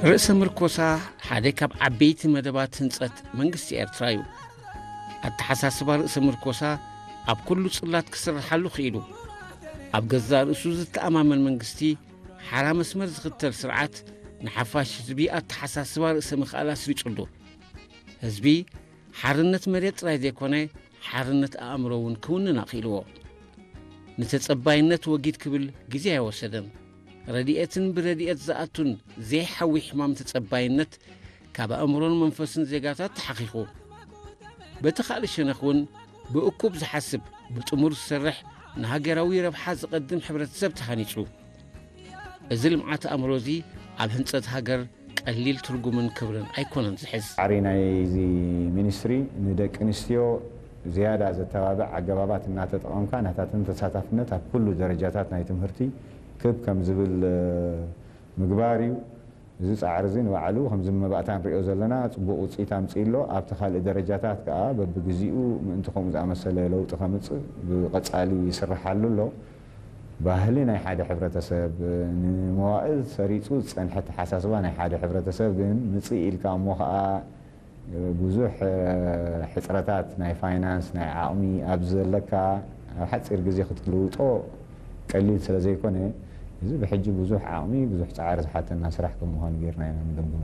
ርእሰ ምርኮሳ ሓደ ካብ ዓበይቲ መደባት ህንጸት መንግስቲ ኤርትራ እዩ። ኣተሓሳስባ ርእሰ ምርኮሳ ኣብ ኩሉ ጽላት ክስርሓሉ ክኢሉ። ኣብ ገዛእ ርእሱ ዝተኣማመን መንግስቲ፣ ሓራ መስመር ዝኽተል ስርዓት፣ ንሓፋሽ ህዝቢ ኣተሓሳስባ ርእሰ ምኽኣል ኣስሪጹሉ። ህዝቢ ሓርነት መሬት ጥራይ ዘይኮነ፣ ሓርነት ኣእምሮ እውን ክውንን ኣኽኢልዎ። ንተጸባይነት ወጊድ ክብል ግዜ ኣይወሰደን። ረድኤትን ብረድኤት ዝኣቱን ዘይሓዊ ሕማም ተጸባይነት ካብ ኣእምሮን መንፈስን ዜጋታት ተሓኺኹ። በቲ ካልእ ሸነኽ እውን ብእኩብ ዝሓስብ፣ ብጥሙር ዝሰርሕ፣ ንሃገራዊ ረብሓ ዝቐድም ሕብረተሰብ ተሃኒጹ። እዚ ልምዓት ኣእምሮ እዚ ኣብ ህንጸት ሃገር ቀሊል ትርጉምን ክብርን ኣይኮነን ዝሕዝ። ጻዕሪ ናይዚ ሚኒስትሪ ንደቂ ኣንስትዮ ዝያዳ ዘተባብዕ ኣገባባት እናተጠቐምካ ናታተን ተሳታፍነት ኣብ ኩሉ ደረጃታት ናይ ትምህርቲ ክብ ከም ዝብል ምግባር እዩ። እዚ ጻዕሪ እዚ ንባዕሉ ከምዚ መባእታ ንሪኦ ዘለና ጽቡቕ ውፅኢት ኣምፅኡ ኣሎ። ኣብቲ ካልእ ደረጃታት ከዓ በብግዚኡ ምእንቲ ከምኡ ዝኣመሰለ ለውጢ ከምፅእ ብቐፃሊ ይስርሓሉ ኣሎ። ባህሊ ናይ ሓደ ሕብረተሰብ፣ ንመዋእል ሰሪፁ ዝፀንሐ ኣተሓሳስባ ናይ ሓደ ሕብረተሰብ ግን ምፅእ ኢልካ እሞ ከዓ ብዙሕ ሕፅረታት ናይ ፋይናንስ፣ ናይ ዓቕሚ ኣብ ዘለካ ኣብ ሓፂር ግዜ ክትልውጦ ቀሊል ስለ ዘይኮነ፣ እዚ ብሕጂ ብዙሕ ዓቕሚ፣ ብዙሕ ፃዕሪ ዝሓተና ስራሕ ከም ምዃኑ ጌርና ኢና ንገምግሞ።